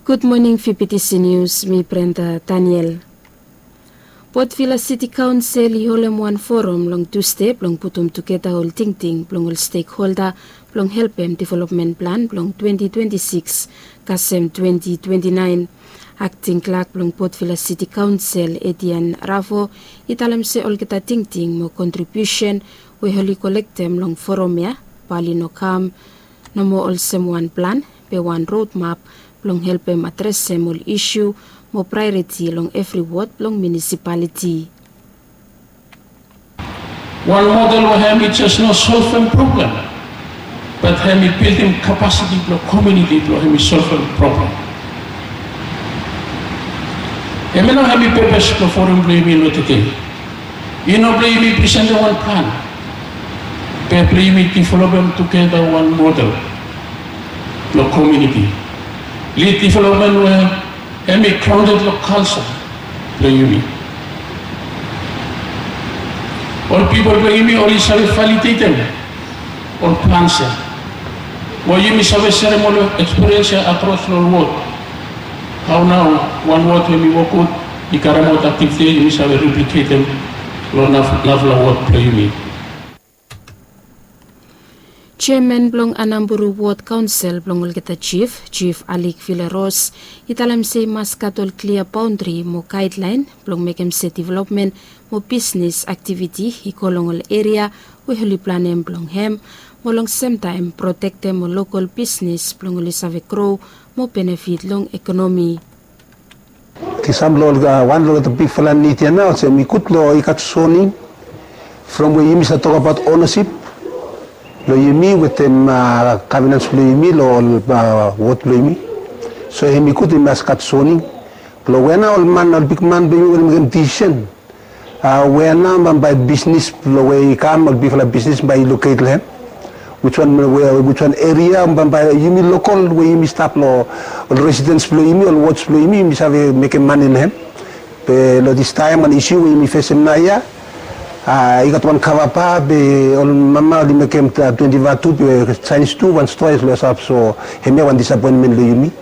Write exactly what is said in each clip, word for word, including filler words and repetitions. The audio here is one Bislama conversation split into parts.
Gud moning, Fibitisi Nius, mi Brenda Daniel. Port Vila Siti Kaonsel i holem wan forum long Tusde blong putum tugeta ol tingting blong ol stekholda blong helpem developmen plan blong twenti twenti sikis kasem twenti twenti naen. Akting klak blong Port Vila Siti Kaonsel, Etian Ravo, i talem se olgeta tingting mo kontribiusen we oli kolektem long forum ya bae oli no kam nomo olsem wan plan, be wan rodmap blong helpem adresem ol isu mo praeoriti long evri wod blong munisipaliti. Wan model we hemi jes no solvem problem, bat hemi bildim kapasiti blong komuniti blong hemi solvem problem. Hemia nao hemi pepes blong forum blong yumi long tede. I no blong yumi presentem wan plan, be blong yumi developem tugeta wan model blong komuniti. Lid developmen we hemi graonded long kalja blong yumi. Ol pipol blong yumi oli save validetem ol plans ya. Mo yumi save serem ol ekspiriens ya akros long ol wod. Hao nao wan wod we hemi wok gud i karemaot aktiviti ya, yumi save repliketem long naf- nafala wod blong yumi. Jeaman blong Anamburu Wod Kaonsel blong olgeta jif, Jif Alik Villaros, i talem se i mas gat ol klia baondri mo gaedlaen blong mekem se developmen mo bisnis aktiviti i go long ol eria we oli planem blong hem, mo long semtaem protektem ol lokol bisnis blong oli save gro mo benefit long ekonomi. Olsem long ol, a, wan long ol bigfala nid ya nao olsem i gud long i gat soning from we yumi save tokbaot onesip blong yumi wetem, a, gavenans blong yumi long ol, a, wod blong yumi. So hemi gud i mas gat soning blong we nao ol man, ol bigman blong yumi oli mekem disisen, a, we nao bambae bisnis blong we i kam, ol bigfala bisnis bae i loket long hem. Wiswan we, wiswan eria bambae yumi lokol we yumi stap long ol residens blong yumi, ol wods blong yumi, yumi save mekem mane long hem. Be long distaem wan isiu we yumi fesem naoia, a, i gat wan kavapa be ol mama oli mekem, a, twenti vatu be jaenis tu wan stoa i stap. So hemia wan disapoenmen long yumi.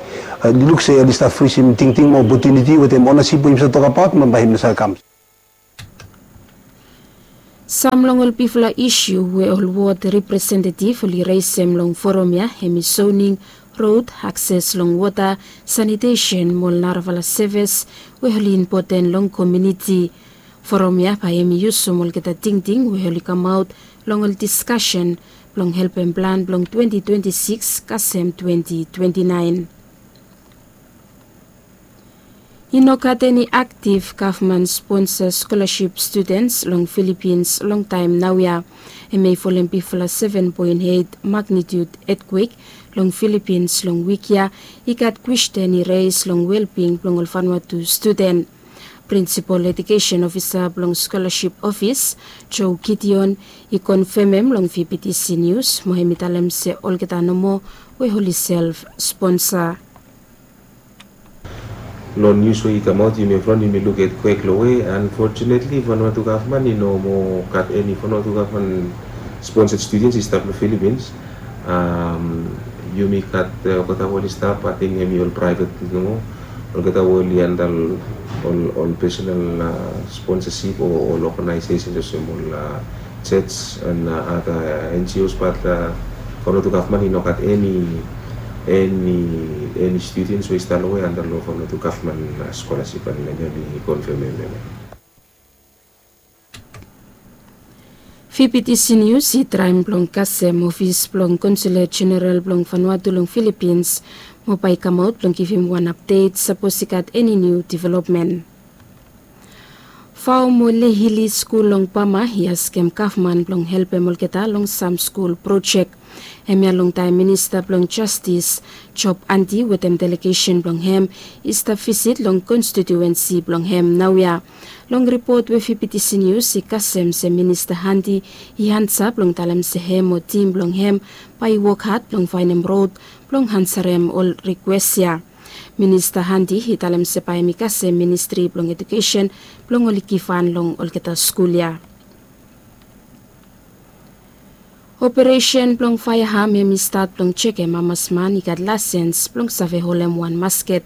A, i luk se oli stap frisim tingting mo opotuniti wetem onesip we yumi save tokbaot, bambae hemi no save kam. Sam long ol bigfala isu we ol wod representetiv oli resem long forum ya hemi soning, rod, akses long wota, sanitesen mo ol narafala sevis we oli impoten long komuniti. Forum ya bae hemi yusum olgeta tingting we oli kamaot long ol diskasen blong helpem plan blong twenti twenti sikis kasem twenti twenti naen. I no gat eni aktiv gavman sponsa skolasip studens long Filipins long taem naoia. Hemia i folem bigfala seven point eight magnitude etkwek long Filipins long wik ya, i gat kwesten i res long welbing blong ol Vanuatu studen. Prinsipol Ejukesen Ofisa blong Skolasip Ofis, Joe Gideon, i konfemem long V B T C Nius, mo hemi talem se olgeta nomo we oli self sponsa. Long nius we i kamaot, yumi from yumi luk etkwek long we, unfortunately, Vanuatu gavman i no moa gat eni Vanuatu gavman sponsored students i stap long Philippines. Am, yumi gat, eh, olgeta we oli stap, ating hemi ol praevet nomo. Olgeta we oli handle ol, ol personal, ah, sponsorship o ol organizations olsem ol, ah, church and, ah, other N G Os, but, ah, Vanuatu gavman i no gat eni, eni, eni students we i stap long we handle long Vanuatu gavman, ah, scholarship, and hemi konfemem hemia. V B T C Nius i traem blong kasem ofis blong Konsula Jeneral blong Vanuatu long Filipins mo bae i kamaot blong givim wan apdet sapos i gat eni niu developmen. Vao mo Lehili Skul long Bama i askem gavman blong helpem olgeta long sam skul projek. Hemia longtaem Minista blong Jastis, Job Andy, wetem delegesen blong hem i stap visit long konstitiuensi blong hem naoia. Long ripot we V B T C Nius i kasem se Minista Andy i ansa blong talem se hem o tim blong hem bae i wok had blong faenem rod blong ansarem ol rikwes ya. Minista Andy i talem se bae hemi kasem Ministri blong Ejukesen blong oli givhan long olgeta skul ya. Operesen blong faeam hem i stat blong jekem hamas man i gat laesens blong save holem wan masket.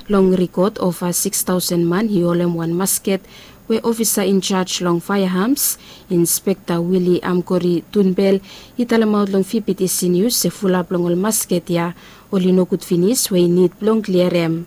Long rikot ova sikstaosen man i holem wan masket we ofisa injaj long faeams, Inspekta Wili Amkori Tunbel, i talemaot long fibitisi nius se fulap long ol masket ya oli nogud finis we i nid blong kliarem.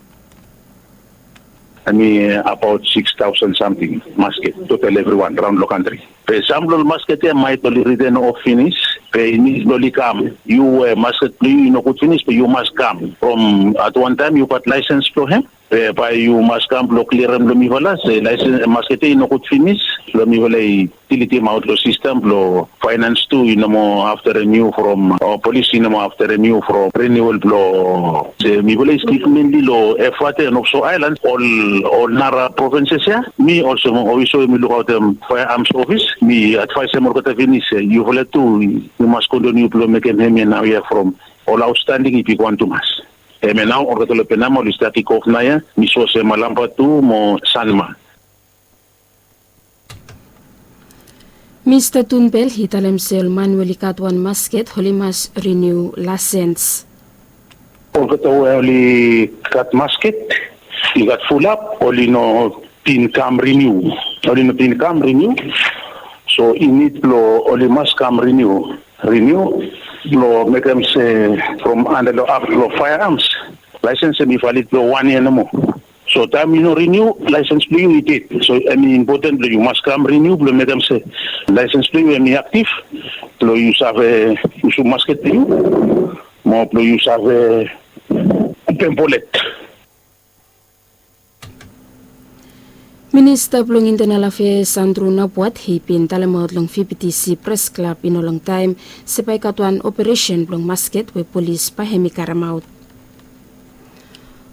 Hem i abaot sikstaosen samting masket total evriwan raon long kantri. Be sam blong ol masket ya maet oli riten of finis. Be i nid blong oli kam, yu we masket blong yu i nogud finis be yu mas kam from at wan taem yu gat laesens blong hem. Be bae yu mas kam blong kliarem long mifala se laesens masket ya i nogud finis. Blong mifala i dilitim aot long sistem blong faenans tu i no moa afterem yu from o polis i no moa afterem yu from riniual blong se mifala i stik menli long efate noposo aelan ol ol nara provinses ya. Mi olsem ofisa we mi lukaotem faeams ofis mi advaesem olgeta finis se yufala tu yu mas kontiniu blong mekem hemia naoia from ol aotstanding i bigwan tumas. Hemia nao olgeta long penama oli stap kikof naoia mi sua se malamba tu mo sanma. Mista Tunbel i talem se ol man we oli gat wan masket oli mas riniu laesens. Olgeta we oli gat masket i gat fulap oli no bin kam riniu. Oli no bin kam riniu. So i nid blong oli mas kam riniu riniu blong mekem se from anda long ap long faeams laesens hem i valid blong wan yia nomo. So taem yu no riniu laesens blong yu i ded. So hem i impoten blong yu mas kam riniu blong mekem se laesens blong yu hem i aktif blong yu save yusum masket blong yu mo blong yu save pempolet. Minista blong intenal afeas Andrew Napuat i bin talemaot long fibitisi pres klab i no longtaem se bae i gat wan operesen blong masket we polis bae hem i karemaot.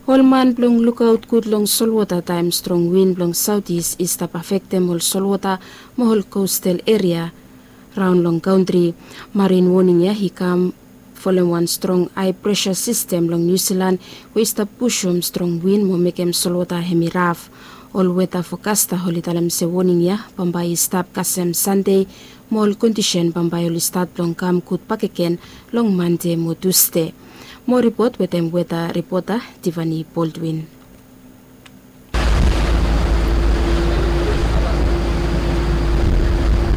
Ol man blong lukaot gud long solwota taem strong win blong saotis i stap afektem ol solwota mo ol kostal eria raon long kantri. Marin woning ya i kam folem wan strong hae presa sistem long Niu Silan we i stap pusum strong win mo mekem solwota hem i raf. Ol weta fokasta oli talem se woning ya bambae i stap kasem Sande mo ol kondisen bambae oli stat blong kam gud bakegen long Mande mo Tusde. Mo ripot wetem weta ripota Tivani Boldwin.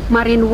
Marin